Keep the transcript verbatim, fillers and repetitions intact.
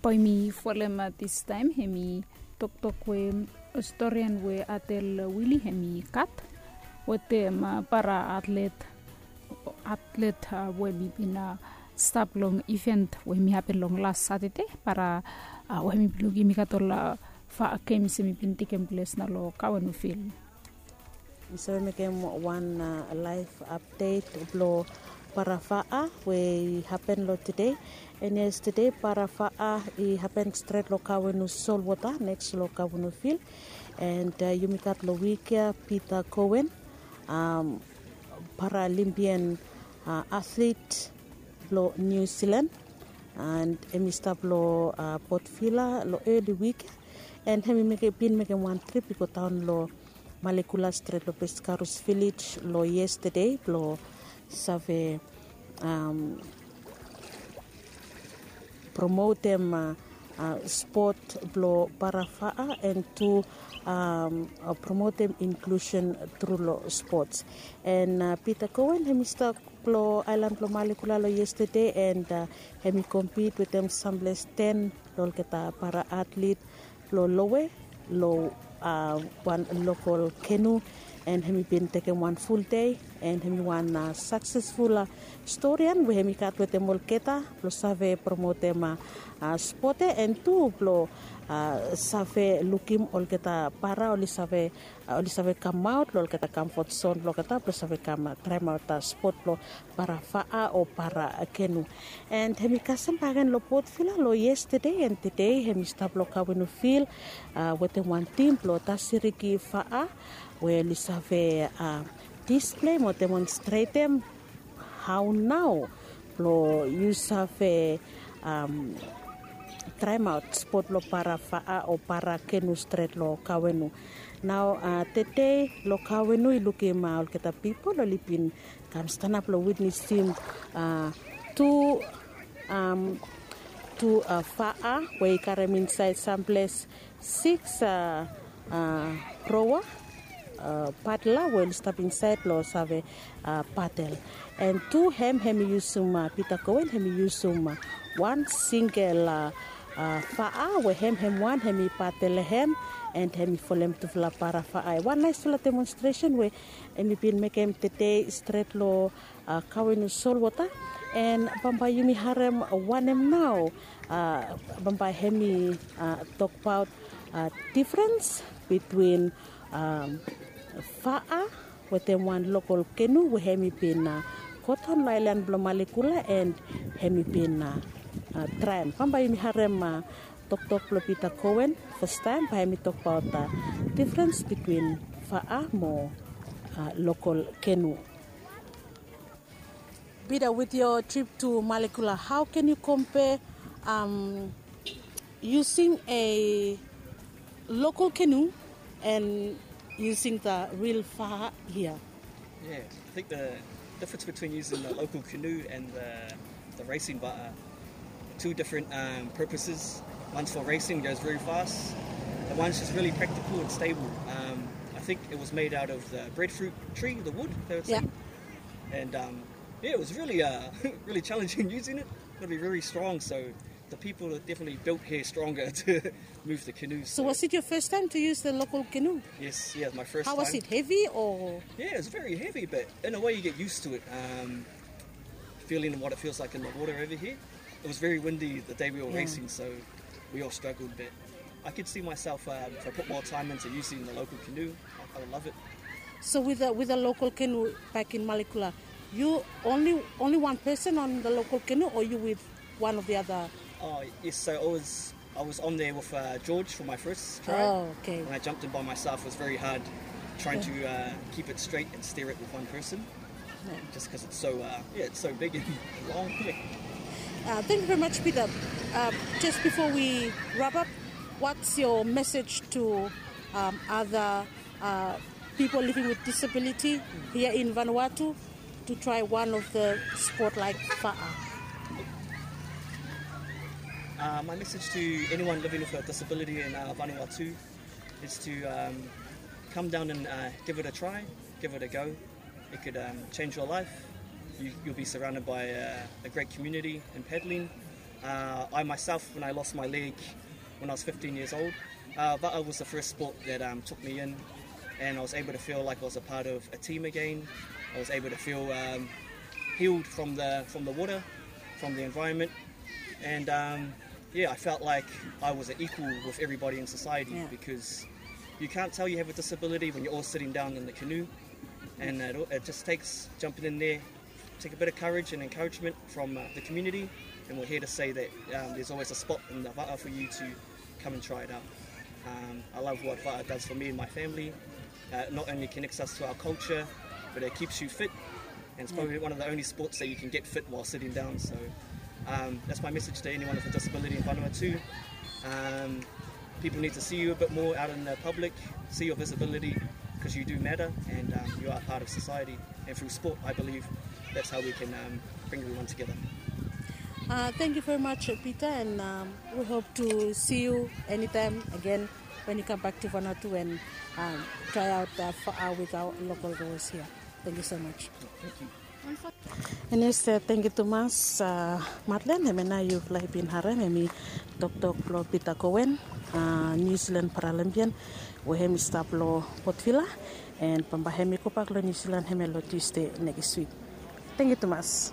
Bae yumi folem distaem hemi toktok we storian we Adel Wili hemi gat wetem para atlet, atlet we hemi bin stap long iven we hemi hapen long las Satade, para we hemi bin lukim i gat ol fa'a gems hemi bin tekem ples nao long Kawenufil. Mi save mekem wan laef apdet blong para fa'a we i hapen long tede. And yestede para fa'a i hapen stret long Kawenu solwota neks long Kawenufil. And yumi gat long wik ya Peter Coen, Paralympian atlet blong New Zealand, and hemi stap long Port Vila long eli wik ya. And hemi bin mekem wan trip i go daon long Malekula stret long Pescarus Village long yestede blong save promotem spot blong para fa'a and tu promotem inklusen tru long spots. And Peter Coen hemi stap long aelan blong Malekula long yestede, and hemi kompit wetem samples ten long olgeta para atlet blong lowe long wan lokol kenu. And hemi bin tekem wan fuldei, and hemi wan saksesful storian we hemi gat wetem olgeta blong save promotem spot ya, and tu blong save lukim olgeta para oli save, oli save kamaot long olgeta kamfot zon blong olgeta blong save kam traemaot spot blong para fa'a o para kenu. And hemi kasem bakegen long Port Vila long yestede, and tede hemi stap long Kawenufil wetem wan tim blong Tasiriki Fa'a we oli save displei mo demonstretem hao nao blong yu save traemaot spot blong para fa'a o para kenu stret long Kawenu. Nao tede long Kawenu i lukim olgeta pipol oli bin kam stanap long witnesem tu, tu fa'a we i karem insaed samples sikis roa padel we oli stap insaed blong save padel. And tu hem, hemi yusum, Peter Coen hemi yusum wan singel fa'a we hem, hem wan hemi padel hem, and hemi folem tufala para fa'a. Wan naesfala demonstresen we hemi bin mekem tede stret long Kawenu solwota. And bambae yumi harem wanem nao bambae hemi tokbaot difrens bitwin fa'a wetem wan lokol kenu we hemi bin godaon long aelan blong Malekula, and hemi bin traem. Bambae yumi harem toktok blong Peter Coen fastaem, bae hemi tokbaot difrens bitwin fa'a mo lokol kenu. Peter, with your trip to Malekula, how can you compare using a local canoe and using the real fa'a here? Yeah, I think the difference between using the local canoe and the, the racing fa'a are two different um, purposes. One's for racing, goes very fast. The one's just really practical and stable. Um, I think it was made out of the breadfruit tree, the wood, they would say. Yeah. And um, yeah, it was really, uh, really challenging using it. It'll be very strong, so the people are definitely built here stronger to move the canoes. So was it your first time to use the local canoe? Yes, yeah, my first time. How was it, heavy or? Yeah, it's very heavy, but in a way you get used to it. Um, feeling what it feels like in the water over here. It was very windy the day we were racing, so we all struggled, but I could see myself, um, if I put more time into using the local canoe, I, I would love it. So with the, with the local canoe back in Malekula, you only, only one person on the local canoe, or you with one of the other? Oh, yes, so I was, I was on there with uh, George for my first try. Oh, okay. And I jumped in by myself. It was very hard trying to uh, keep it straight and steer it with one person. Just because it's so, uh, yeah, it's so big and long. Yeah. Uh, thank you very much, Peter. Uh, just before we wrap up, what's your message to um, other uh, people living with disability here in Vanuatu to try one of the sport like fa'a? Uh, my message to anyone living with a disability in uh, Vanuatu is to um, come down and uh, give it a try, give it a go. It could um, change your life. You, you'll be surrounded by a, a great community in paddling. Uh, I myself, when I lost my leg when I was fifteen years old, uh, Va'a was the first sport that um, took me in, and I was able to feel like I was a part of a team again. I was able to feel um, healed from the from the water, from the environment, and um, yeah, I felt like I was an equal with everybody in society, yeah, because you can't tell you have a disability when you're all sitting down in the canoe, and it, it just takes jumping in there, take a bit of courage and encouragement from uh, the community, and we're here to say that um, there's always a spot in the va'a for you to come and try it out. Um, I love what va'a does for me and my family. Uh, not only connects us to our culture, but it keeps you fit. And it's probably one of the only sports that you can get fit while sitting down. So um, that's my message to anyone with a disability in Vanuatu. Um, people need to see you a bit more out in the public, see your visibility, because you do matter and um, you are part of society. And through sport, I believe that's how we can um, bring everyone together. Uh, thank you very much, Peter, and um, we hope to see you anytime again when you come back to Vanuatu and um, try out uh, for, uh, with our local girls here. Thank you so much. Thank you. Enes, tengkiu tumas, Madlen. Hemia nao yufala i bin harem hemi toktok blong Peter Cowan, New Zealand Paralympian, we hemi stap long Port Vila, and bambae hemi gobak long New Zealand hemia long Tuesday nekis wik. Tengkiu tumas.